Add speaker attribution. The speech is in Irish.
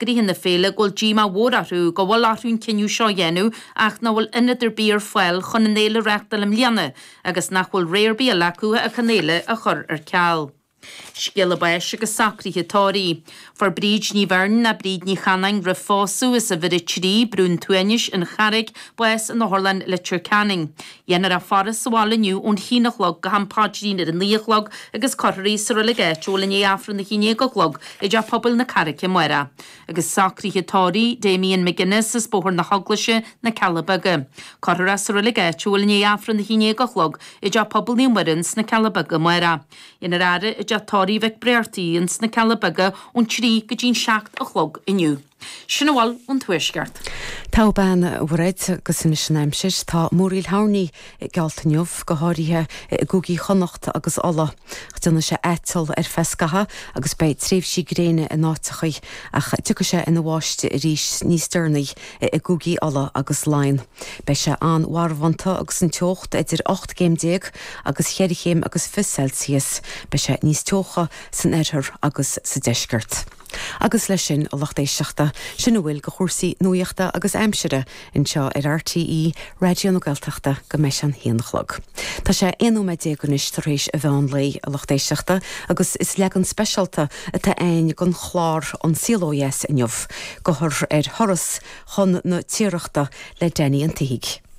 Speaker 1: Eagraithe na féile go bhfuil díomá mhór orthu go bhfuil orthu an cinneadh seo a dhéanamh ach nach bhfuil ionad ar bith ar fáil chun an fhéile a reáchtáil i mbliana agus nach bhfuil rogha ar bith eile acu ach an fhéile a chur ar ceal. Scéala báis agus socruithe tórraimh. Fuair Bríd Ní Bheirn nó Bríd Ní Chanáin roimh phósadh as uimhir 3, Brú an tSuaimhnis, An Charraig, bás in Otharlann Leitir Ceanainn. Dhéanfar í a faire sa bhaile inniu ón haon a chlog go ham paidrín ar a naoi a chlog agus cuirfear í sa reilig áitiúil i ndiaidh Aifreann a haon déag a chlog i dTeach Pobail na Carraice amárach. Agus socruithe tórraimh Damien McGuinness as Bóthar na hEaglaise, Na Cealla Beaga. Cuirfear é sa reilig áitiúil i ndiaidh Aifreann a haon déag a chlog i dTeach Pobail Naomh Muireann sna Cealla Beaga amárach. Dhéanfar faire i dTeach Tórraimh Mhic Bréartaigh ins na Cealla Beaga ón 3 go dtí'n 7 a chlog inniu. Sin a bhfuil ón Tuaisceart.
Speaker 2: Togha bean, a Mhairéad, agus anois an aimsir. Tá múraíl thoirní geallta inniu, go háirithe i gcúigí Chonnacht agus Uladh. Déanfaidh sé aiteal ar feadh scathaimh agus beidh tréimhsí gréine in áiteachaí, ach tiocfaidh sé ina bháisteach arís níos deireanaí i gcúigí Uladh agus Laighean. Beidh sé an-mharbhánta agus an teocht idir 18 gcéim agus cheithre chéim agus 20 Celsius. Beidh sé níos teocha san oirthear agus sa deisceart. Agus leis sin, a lucht éisteachta, sin a bhfuil de chúrsaí nuachta agus aimsire anseo ar RTÉ Raidió na Gaeltachta go mbeidh sé an haon a chlog. Tá sé 11 nóiméad anois tar éis an mheán lae, a lucht éisteachta, agus is leagan speisialta atá againn den chlár An Saol Ó Dheas inniu, gabhfar ar thuras chun na Tiarachta le Danny an tSíthigh.